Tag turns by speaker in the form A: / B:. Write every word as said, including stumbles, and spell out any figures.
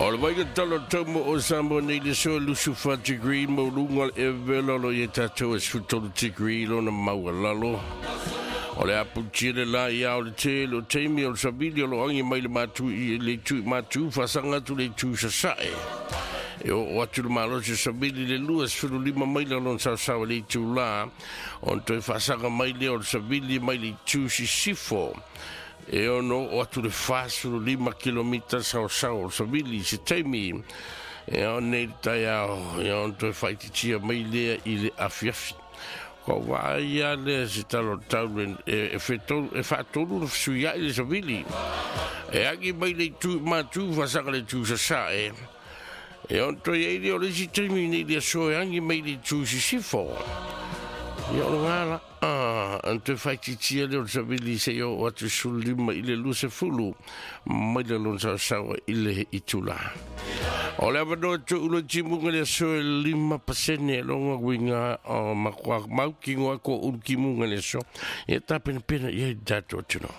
A: O le vaaiga tala o le tau mo o Samoa nei le aso e lusu fa degree maualuga le ea vevela, o lo o i ai tatou e sefulu tolu degree lona maualalo. O le aputia le la i ao le tele o taimi o le savili o lo agi mai le matu i le itu i matu faasaga atu le itu sasae. E oo atu le malosi o savili le lua sefulu lima maila lona saosaoa i le itulā, ona toe faasaga mai lea o le savili mai le itu sisifo. E ono oo atu le fasulu lima kilomita saosaoa o le savili i se taimi e ao nei le taeao, ia ona toe faaitiitia mai lea i le afiafi. Ko vaai a lea se tala o le tau e, e, fetolu, e faatolu na fesuiai le savili. E agi mai le itu i matu faasaga le itu sasae. E ona toe ai lea o le isi taimi nei le aso e agi mai le itu sisifo. Ia o le gala. Ah, ona toe faaitiitia lea o le savili seia oo atu sefulu lima i le luasefulu maila lona saosaoa i le itulā. O le avanoa tu'u le timuga le aso e lima pasene longa uiga o makuā mautinoa ko ulu timuga le aso. Ia tapenapena i ai le tatou atunuu.